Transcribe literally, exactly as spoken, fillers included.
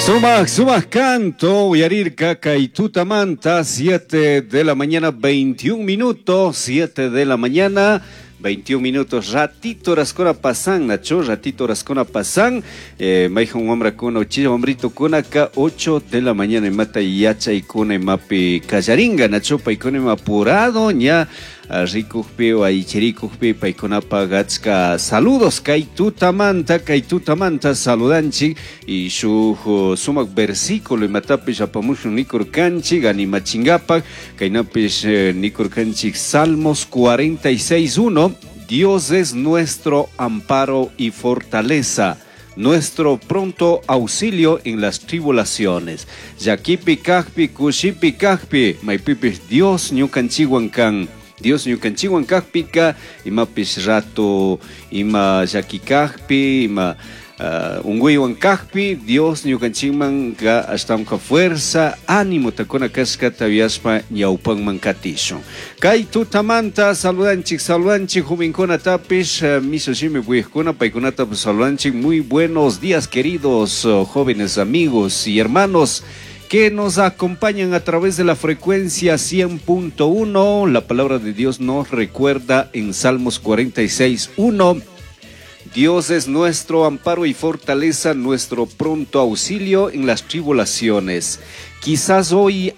Sumak, sumak canto, uyarirka kay tutamanta, siete de la mañana, veintiún minutos, siete de la mañana, veintiún minutos, ratito horaskuna pasan, Nacho, ratito horaskuna pasan, eh, maijan wamrakuna, uchilla wamritukunaka, ocho de la mañana, imata yachaykuna imapi kallaringa, Nacho, paykuna ima apurado, ña, rikukpi o aychirikukpi paykunapaq achka saludos kay tutamanta, kay tutamanta saludanchik y shuk sumak versículo imatapish apamushun nikurkanchik animachingapak kaynapish eh, nikurkanchik Salmos cuarenta y seis uno. Dios es nuestro amparo y fortaleza, nuestro pronto auxilio en las tribulaciones. Llaquipi kajpi, kushipi kajpi, maypipish Dios ñukanchikwan kan. Dios ñukanchikwan kajpika, imapish rato, ima llaki kajpi, ima uh, unguywan kajpi, Dios ñukanchikman ka ashtawanka fuerza, ánimo takuna kashkata yuyashpa ñawpanman katishun. Kay tutamanta saludanchik, saludanchik jovenkunatapish, uh, mishu shimi uyajkuna, paykunatapish saludanchik. Muy buenos días, queridos uh, jóvenes amigos y hermanos que nos acompañan a través de la frecuencia cien punto uno. La palabra de Dios nos recuerda en Salmos cuarenta y seis uno. Dios es nuestro amparo y fortaleza, nuestro pronto auxilio en las tribulaciones. Quizás hoy